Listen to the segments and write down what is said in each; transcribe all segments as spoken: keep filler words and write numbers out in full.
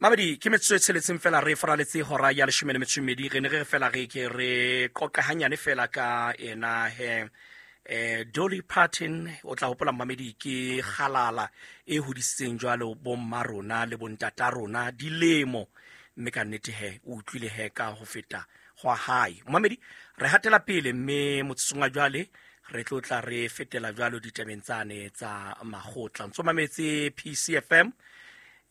Mamedi, ke metsotso e tsheletseng fela re faraletse hora ya leshome le metso e mmedi. Re ne re re fela re ke re qoqe hanyane fela ka ena he eh Dolly Parton. O tla hopola, mamedi, ke kgalala e hodisitseng jwalo bomma rona le bontata rona dilemo, mme ka nnete he o utlwile he ka ho feta hwa hae. Mamedi, re hatela pele, mme motsotsong wa jwale re tlo tla re fetela jwalo ditabeng tsane tsa makgotla. Ntso mametse P C F M,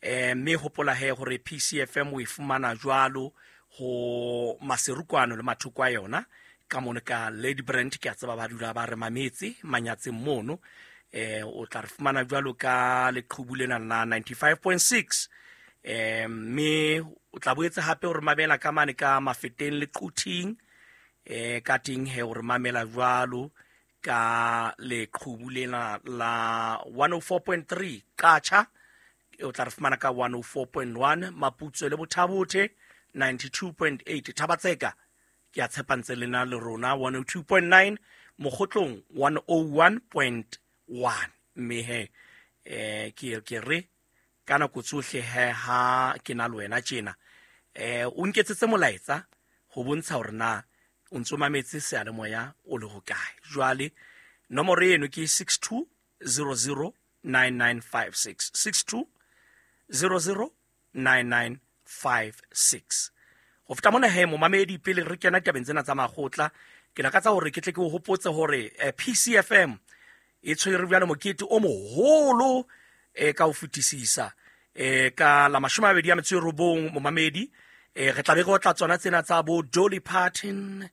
eh mme hopola he hore P C F M o e fumana jwalo ho Maserukwano le mathoko a yona ka mono ka Lady Brand. Ke a tseba ba dula ba re mametse manyatseng mono. eh o tla re fumana jwalo ka leqhubu lena la ninety-five point six, eh mme o tla boetse hape o re mamela ka mane ka Mafeteng le Quthing, eh ka teng he o re mamela jwalo ka leqhubu lena la one oh four point three. Qacha o tla re fumana ka one oh four point one, Maputsoe le Bothabothe ninety-two point eight, Thabatseka ke a tshepa ntse lena le rona one oh two point nine, Mokgotlong one oh one point one. Mme he eh ke ke re ka nako tsohle he ha ke na le wena tjena, eh o nketsetse molaetsa ho bontsha hore na o ntso mametse seyalemoya o le hokae. Jwale nomoro eno ke six two zero zero nine nine five six, six two zero zero nine nine five six. Ho feta mona he, momamedi, pele re kena tabeng tsena tsa makgotla, ke lakatsa hore ke tle ke o hopotse hore eh, P C F M e tshwere bjalo mokete o moholo eh, ka ho fetisisa eh, ka la mashome a mabedi a metso e robong. Momamedi, eh, re tla be re otla tsona tsena tsa bo Dolly Parton,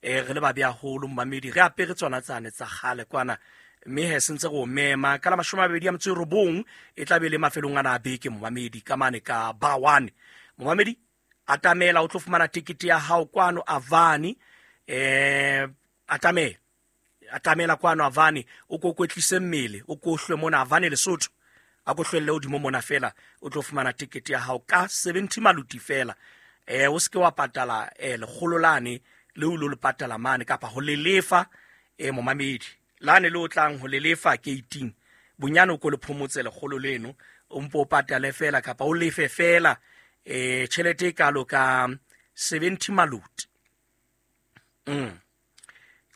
eh, re le babe haholo, momamedi, re apere tsona tsane tsa kgale kwana. Mme he sentse re o mema ka la mashome a mabedi a metso e robong, e tla be le mafelong ana a beke, momamedi, ka mane ka ba one. Momamedi, atamela o tlo fumana tekete ya hao kwano Avani. eh atamela atamela kwano Avani, o ko kwetlise mmele, o ko hlwe mona Avani Lesotho, a ko hlwelle hodimo mona fela, o tlo fumana tekete ya hao ka seventy maluti fela. eh o seke wa patala eh lekgolo lane le o lo le patala mane kapa ho le lefa. eh momamedi, lane le o tlang ho le lefa gate-ing, bonyane o ko le phomotse lekgolo leno, o mpo o patale fela kapa o lefe fela eh tjhelete e kalo ka seventy maluti. mm.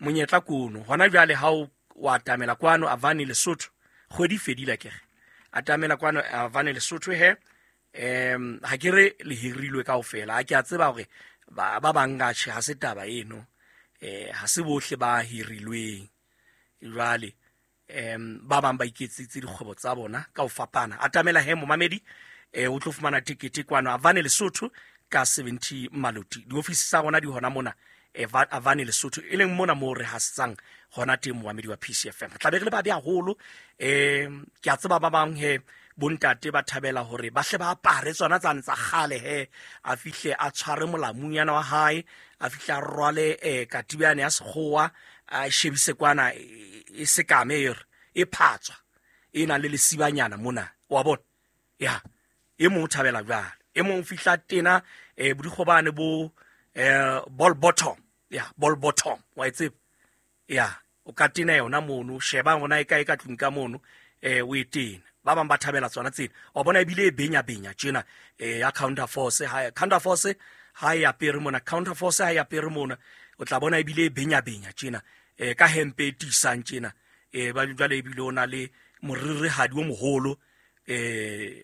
monyetla kono hona jwale ha o wa atamela kwano Avani Lesotho, kgwedi e fedile akere. Atamela kwano Avani Lesotho he. um ha ke re le hirilwe kaofela, ha ke a tseba hore ba ba bang ka tjhe, ha se taba eno, eh ha se bohle ba hirilweng. Jwale um ba bang ba iketsitse dikgwebo tsa bona ka ho fapana. Atamela he, momamedi, eh o tlo fumana tekete kwano Avani Lesotho ka seventy maluti. Diofisi tsa rona di hona mona eh, Avani Lesotho, e leng mona moo re hasetsang hona teng, momamedi wa P C F M. Re tla be re le babe haholo. um ke a tseba ba bang he bontate ba thabela hore ba hle ba apare tsona tsane tsa kgale he, a fihle a tshware molamunyana wa hae, a fihle a rwale um katibiane ya sekgowa, a shebise kwana e e sekame, e re e phatswa e nang le lesibanyana mona wa bona. Ya e mong o thabela jwalo, e mong o fihla tena um bodikgobane bo um ball bottom, ya ball bottom wa e tseba, ya o ka tena yona mono, sheba ona e kae ka tlung ka mono, eh o e tena. Ba bang ba thabela tsona tsena, wa bona, ebile e benya benya tjena, eh ya counter force ha counter force ha e apere mona, counter force ha e apere mona, o tla bona ebile e benya benya tjena, eh ka hempe e tiisang tjena, eh ba jwale ebile o na le moririhadi o moholo, eh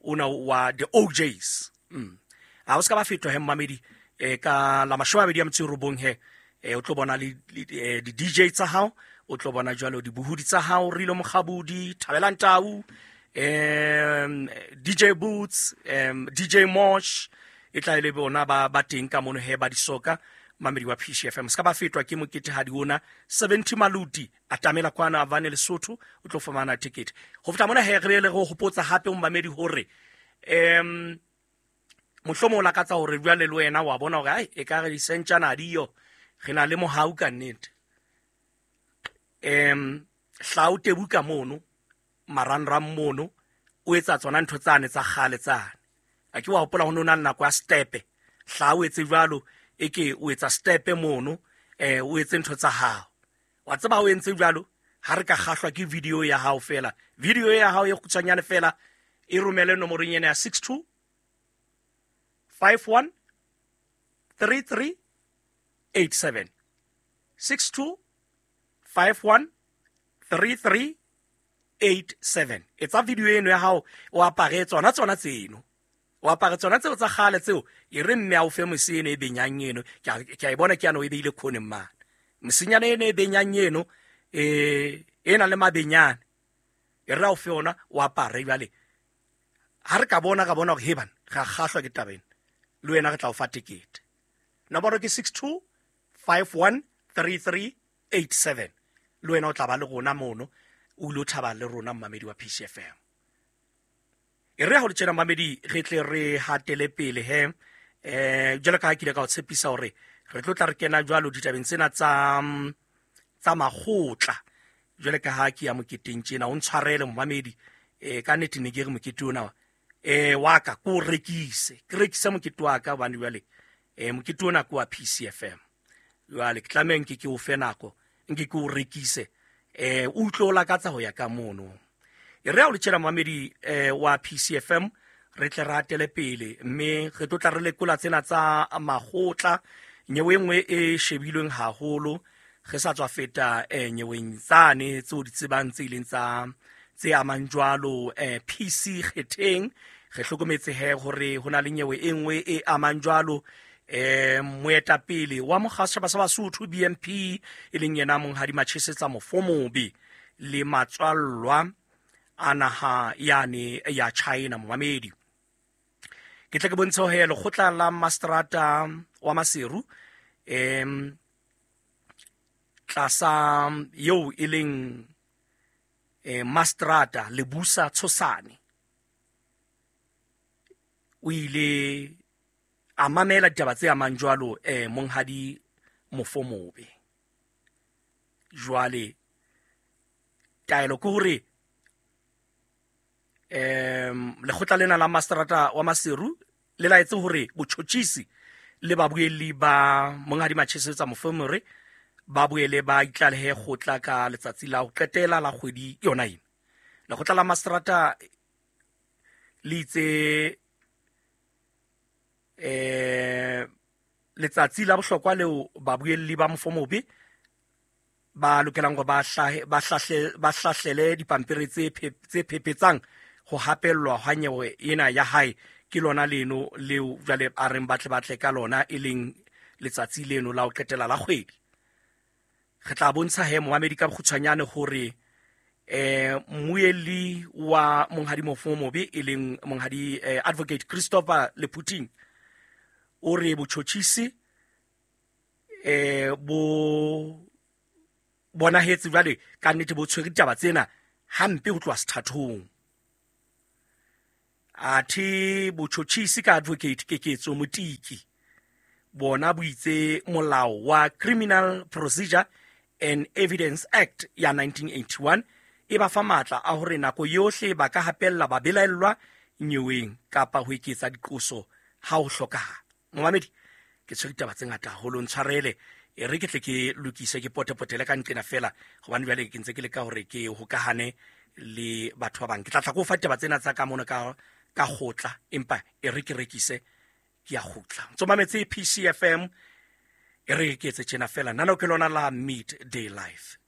ona wa the O Js. mm ha o ska ba fetwa he, mmamedi, eh ka la mashome a mabedi a metso e robong he, eh o tlo bona le le- eh, di D J tsa hao, o tlo bona jwalo dibohodi tsa hao, Rilo Mokgabudi, Thabelang Tau, um D J Boots, um D J Mosh, e tla e le bona ba ba teng ka mono he ba disoka. Mamedi wa P C F M, ska ba fetwa ke moketehadi ona, seventy maluti. Atamela kwana Avane Lesotho, o tlo fumana ticket. Ho feta mona he, re be le re hopotsa hape momamedi hore um mohlomong o lakatsa hore jwale le wena wa bona hore ai e ka re disentjana diyo, re na le mohau ka nnete. um hla o tebuka mono marangrang mono, o etsa tsona ntho tsane tsa kgale tsane, a ke wa hopola ho no na le nako ya stepe. Hla o etse jwalo, e ke o etsa stepe mono, eh o etse ntho tsa hao, wa tseba o entse jwalo. Ha re ka kgahlwa ke video ya hao fela, video ya hao e kgutshwanyane fela, e romele nomorong ena ya six two five one three three eight seven. six two five one three three eight seven. Etsa video eno ya hao o apare tsona tsona tseno. O apare tsona tseo tsa kgale tseo e re mme a o fe mose eno e benyang eno. Ke a, ke a e bona ke ano e beile khoneng mane. Mosenyana eno e benyang eno e e na le mabenyane. E re a o fe ona o apare jwale. Ha re ka bona ka bona hore he bana ra kgahlwa ke taba ena. Le wena re tla o fa tekete. Nomoro ke six two five one three three eight seven. Le wena o tla ba le rona mono o ilo thaba le rona mmamedi wa P C F M. E re ha ho le tjena mmamedi re tle re hatele pele he. Eh jwalo ka ha ke ile ka o tshepisa hore re tlo tla re kena jwalo ditabeng tsena tsa tsa makgotla. Jwale ka ha ke ya moketeng tjena o ntshwarele mmamedi eh ka nnete ne ke re mokete ona eh wa ka ko rekise. Ke rekise mokete wa ka hobane jwale eh mokete ona ke wa P C F M. Jwale ke tlameha nke ke o fe nako nke ke o rekise eh o utlwe o lakatsa ho ya ka mono. E re ha o le tjena mmamedi eh wa P C F M re tle re hatele pele mme re tlo tla re lekola tsena tsa makgotla. Nyewe e nngwe e shebilweng haholo re sa tswa feta eh nyeweng tsane tseo di tsebang tse ileng tsa tse amang jwalo eh P C Kgetheng. Re hlokometse he hore ho na le nyewe e nngwe e amang jwalo eh moetapele wa mokga wa setjhaba sa Basotho B M P e leng yena Monghadi Machesetsa Mofomobe le matswallwa a naha yane ya China momamedi. Ke tle ke bontshe he lekgotla la Mastrata wa Maseru em tlasa eo e leng eh Mastrata Lebusa Tshosane o ile a mamela ditaba tse amang jwalo eh Monghadi Mofomobe. Jwale taelo ke hore em lekgotla lena la Mastrata wa Maseru le laetse hore botjhotjhisi le babuelli ba Monghadi Machesetsa Mofomobe ba boele ba itlalehe kgotla ka letsatsi la ho qetela la kgwedi yona ena. Lekgotla la Mastrata le itse eh letsatsi la bohlokwa leo babuelli ba Mofomobe ba lokelang hore ba hlahe ba hlahle ba hlahlele dipampiri tse tse phepetsang ho hapellwa ha nyewe ena ya hae ke lona leno leo jwale a reng batle batle ka lona e leng letsatsi leno la ho qetela la kgwedi. Re tla bontsha he momamedi ka bokgutshwanyane hore eh mmuelli wa Monghadi Mofomobe e leng Monghadi eh, Advocate Christopher Leputing o re botjhotjhisi eh bo bonahetse jwale ka nnete bo tshwere ditaba tsena hampe ho tloha sethathong. Athe botjhotjhisi ka Advocate Keketso Motiki bona bo itse molao wa Criminal Procedure and Evidence Act ya nineteen eighty-one e ba fa matla a hore nako yohle ba ka hapella ba belaellwa nyeweng kapa ho eketsa diqoso ha ho hlokahala. Momamedi ke tshwere ditaba tse ngata haholo, ntshwarele e re ke tle ke lokise ke potepotele ka nqena fela hobane jwale ke ntse ke leka hore ke hokahane le batho ba bang. Ke tla tla ko fa ditaba tsena tsa ka mono ka ka kgotla empa e re ke rekise ke ya kgutla. Ntso mametse P C F M e re ke etse tjena fela nano ke lona la Midday Life.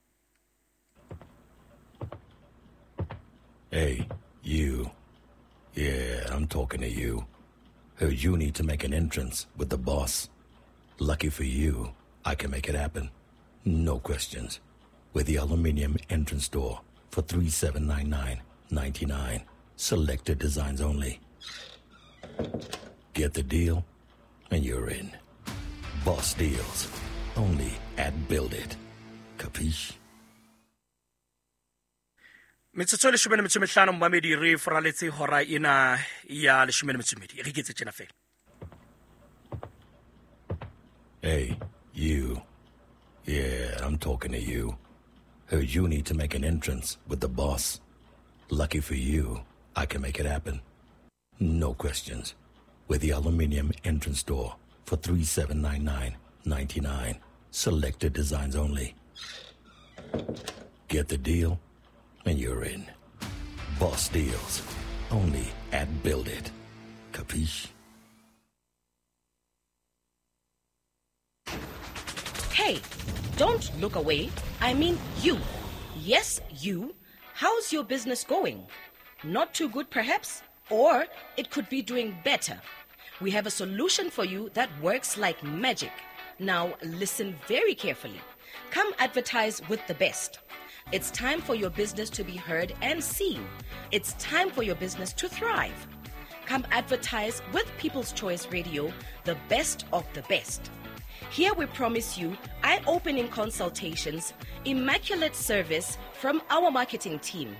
Hey, you. Yeah, I'm talking to you. Heard you need to make an entrance with the boss. Lucky for you, I can make it happen. No questions. With the aluminium entrance door for three seven nine nine ninety-nine. Selected designs only. Get the deal, and you're in. Boss deals. Only at Build It. Capiche? Metsotso e leshome le metso e mehlano momamedi re foraletse hora ena ya leshome le metso e mmedi. Re iketse tjena fela. Hey, you. Yeah, I'm talking to you. Heard you need to make an entrance with the boss. Lucky for you, I can make it happen. No questions. With the aluminium entrance door for three seven nine nine ninety-nine. Selected designs only. Get the deal, and you're in. Boss deals. Only at Build It. Capiche? Hey, don't look away. I mean you. Yes, you. How's your business going? Not too good, perhaps? Or it could be doing better. We have a solution for you that works like magic. Now, listen very carefully. Come advertise with the best. It's time for your business to be heard and seen. It's time for your business to thrive. Come advertise with People's Choice Radio, the best of the best. Here we promise you eye-opening consultations, immaculate service from our marketing team.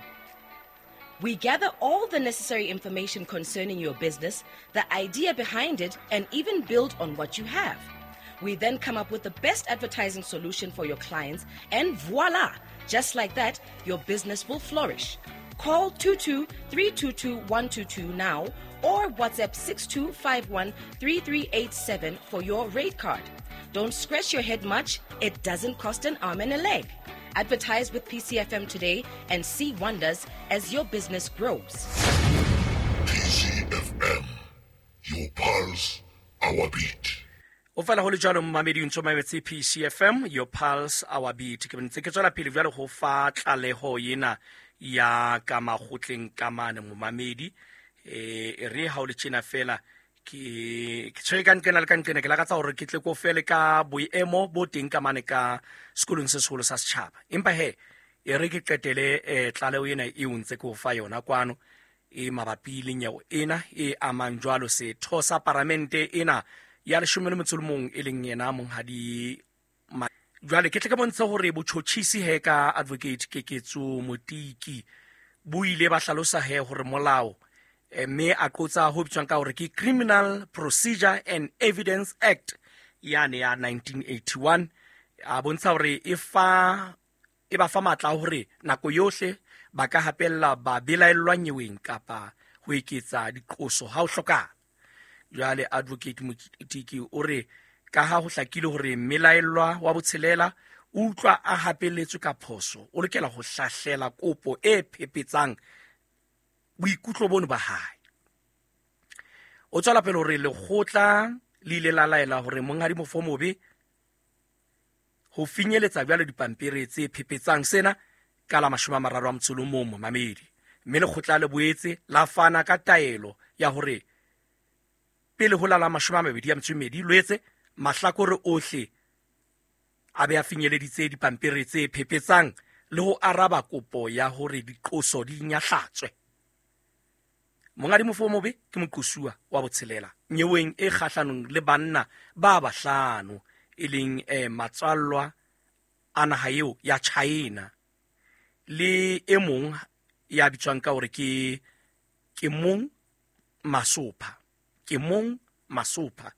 We gather all the necessary information concerning your business, the idea behind it, and even build on what you have. We then come up with the best advertising solution for your clients, and voila! Just like that, your business will flourish. Call two two three two two one two two now or WhatsApp six two five one three three eight seven for your rate card. Don't scratch your head much. It doesn't cost an arm and a leg. Advertise with P C F M today and see wonders as your business grows. P C F M, your pulse, our beat. O fela ho le jwalo mmamedi ntso mametse P C F M, your pulse, our beat. Ke ntse ke tswela pele jwalo ho fa tlaleho ena ya ka makgotleng ka mane momamedi. Eh re ha o le tjena fela ke ke tshwere ka nqena le ka nqena ke lakatsa hore ke tle ko fele ka boemo bo teng ka mane ka sekolong se seholo sa setjhaba. Empa he e re ke qetele eh tlaleho ena e o ntse ke o fa yona kwano e mabapi le nyewe ena e amang jwalo setho sa paramente ena ya leshome le metso le mong e leng yena monghadi. Jwale ke tle ke bontshe hore botjhotjhisi he ka advocate Keketso Motiki bo ile ba hlalosa he hore molao mme a qotsa ho bitswang ka hore ke Criminal Procedure and Evidence Act yane ya nineteen eighty-one a bontsha hore e fa e ba fa matla hore nako yohle ba ka hapella ba belaellwa nyeweng kapa ho eketsa diqoso ha o hlokahala. Jwale advocate Motiki o re ka ha ho hlakile hore mmelaellwa wa botshelela o utlwa a hapeletswe ka phoso, o lokela ho hlahlela kopo e phepetsang boikutlo bono ba hae. O tswela pele hore lekgotla le ile la laela hore monghadi Mofomobe ho finyeletsa jwale dipampiri tse phepetsang sena ka la mashome a mararo a motso o mong momamedi, mme lekgotla le boetse la fana ka taelo ya hore pele ho la la mashome a mabedi a metso e mmedi Loetse mahlakore ohle a be a finyeleditse dipampiri tse phepetsang le ho araba kopo ya hore diqoso di nyahlatswe. Monghadi Mofomobe ke moqosuwa wa botshelela nyeweng e kgahlanong le banna ba bahlano e leng eh, matswallwa a naha eo ya China le e mong ya bitswang ka hore ke ke mong Masopha ke mong Masopha